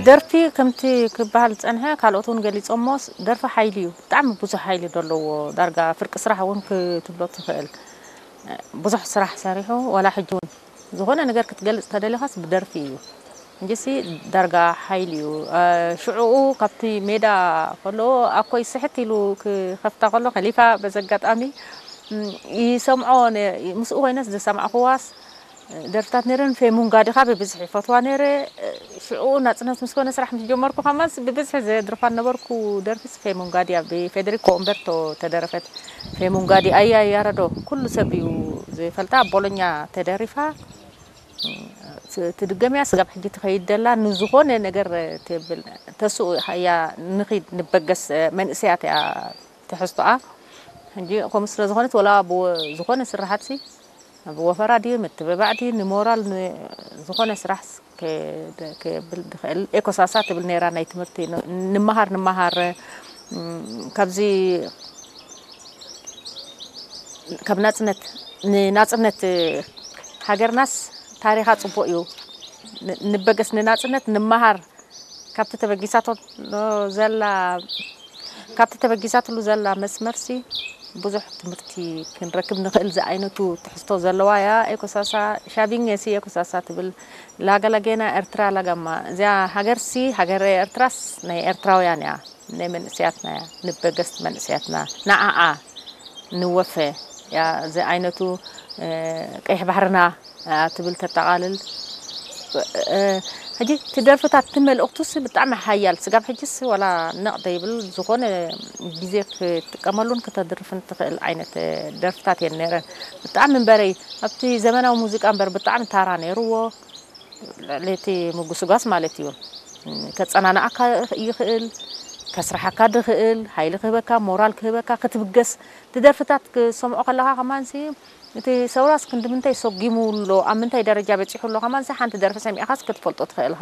ደርፊ ከምቲ ክበሃል ዝጸንሐ፣ ካልኦት እውን ገሊጾሞ፣ ደርፊ ሓይሊ እዩ። ብጣዕሚ ብዙሕ ሓይሊ ዘለዎ፣ ዳርጋ ፍርቂ ስራሕ እውን ክትብሎ ትኽእል። ብዙሕ ስራሕ ሰሪሑ፣ ዋላ ሕጂ እውን ዝኾነ ነገር ክትገልጽ ተደሊኻስ ብደርፊ እዩ። እንጂሲ ዳርጋ ሓይሊ እዩ። ሽዕኡ ካብቲ ሜዳ ከሎ ኣኮይ ስሕት ኢሉ ክኸፍታ ከሎ ከሊፋ በዚ ኣጋጣሚ ይሰምዖ፣ ምስኡ ኮይነስ ዝሰማዕኹዋስ ደርፍታት ነይረን። ፌሙንጋዲ ኻ ብብዝሒ ይፈትዋ ነይረ። ሽዕኡ ናጽነት ምስ ኮነ ስራሕ ምስ ጀመርኩ ከማንስ ብብዝሒ ዘድርፋ ነበርኩ። ደርፍስ ፌሙንጋዲ እያ፣ ብፌደሪኮ ኡምበርቶ ተደረፈት። ፌሙንጋዲ ኣያ ያረዶ ኩሉ ሰብ እዩ ዝፈልጣ፣ ኣብ ቦሎኛ ተደሪፋ። ትድገም እያ፣ ስጋብ ሕጂ ትኸይድ ደላ። ንዝኾነ ነገር ትብል ተስኡ እያ። ንኺድ ንበገስ መንእሰያት እያ ትሕዝቶኣ። ሕጂ ከምኡ ስለ ዝኾነት ወላ ዝኾነ ስራሓትሲ ብወፈራ ድዩ ምትብባዕ ድዩ ንሞራል ዝኾነ ስራሕ ክብል ድኽእል ኤኮሳሳ ትብል ነይራ። ናይ ትምህርቲ ንምሃር ንምሃር ካብዚ ካብ ናፅነት ንናፅነት ሃገርናስ ታሪኻ ፅቡቅ እዩ። ንበገስ ንናፅነት ንምሃር ካብቲ ተበጊሳቶ ዘላ ካብቲ ተበጊሳትሉ ዘላ መስመርሲ ብዙሕ ትምህርቲ ክንረክብ ንኽእል ዝኣይነቱ ትሕዝቶ ዘለዋ እያ። ኤኮሳሳ ሻቢኘ ሲ ኤኮሳሳ ትብል ላገላጌና ኤርትራ ላጋማ እዚኣ ሃገርሲ ሃገር ኤርትራስ ናይ ኤርትራውያን እያ፣ ናይ መንእስያትና እያ፣ ንበገስቲ መንእስያትና ንዓኣ ንወፈ እያ። እዚ ዓይነቱ ቀይሕ ባሕርና ትብል ተጠቓልል። ሕጂ እቲ ደርፍታት እቲ መልእኽቱስ ብጣዕሚ ሓያል ስጋብ ሕጅስ ዋላ ነቕ ዘይብል ዝኾነ ግዜ ክትጥቀመሉን ክተድርፍን ትኽእል ዓይነት ደርፍታት እየን ነይረን። ብጣዕሚ እምበረይ ኣብቲ ዘመናዊ ሙዚቃ እምበር ብጣዕሚ ታራ ነይርዎ። ልዕሊ እቲ ምጉስጓስ ማለት እዩ። ከጸናንዓካ ይኽእል፣ ከስርሓካ ድኽእል፣ ሓይሊ ክህበካ፣ ሞራል ክህበካ፣ ክትብገስ እቲ ደርፍታት ክሰምዖ ከለኻ ከማንሲ እቲ ሰውራስ ክንዲ ምንታይ ሰጊሙ ኣሎ፣ ኣብ ምንታይ ደረጃ በጺሑ ኣሎ ከማንሲ ሓንቲ ደርፊ ሰሚዕኻስ ክትፈልጦ ትኽእል ኢኻ።